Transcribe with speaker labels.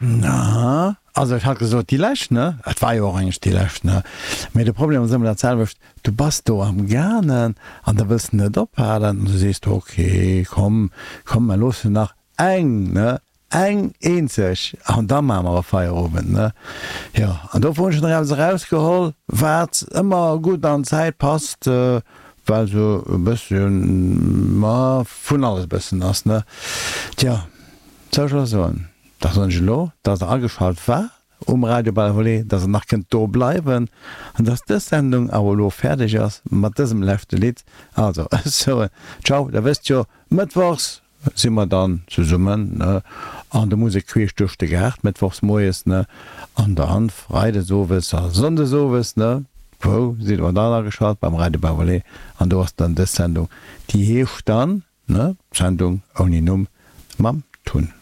Speaker 1: Na, also ech hat gesot déi lescht, ne? Et war jo och eigentlech déi lescht, ne? Mee de Problem ass ëmmer dat selwecht, du bass do am gaangen an da wëlls de net ophalen an du sees de, ok, komm, komm, mer loossen nach eng, ne? Eng eenzeg an da maache mer e Feierowend, ne? Jo, an dofir hunn ech nach eppes erausgeholl, wat ëmmer gutt an d'Zäit passt, well sou e bësschen, ma vun alles e bëssen ass, ne? Tja, soll ech elo soen? Da soen ech elo, dass Der ageschalt waart um Radio Balavolet, dass Der nach kënnt do bleiwen an dass dës Sendung awer elo fäerdeg ass mat dësem leschte Lidd. Also, ech soen Ciao, Der wësst jo, mëttwochs si mer dann zesummen, ne, an der Musek queesch duerch de Gaart, mëttwochs moies, ne, an dann freides owes a sonndes owes, ne, wou sidd Der dann ageschalt? Beim Radio Balavolet an do ass dann dës Sendung, déi heescht dann. Ne? D'Sendung ouni Numm mam Tun.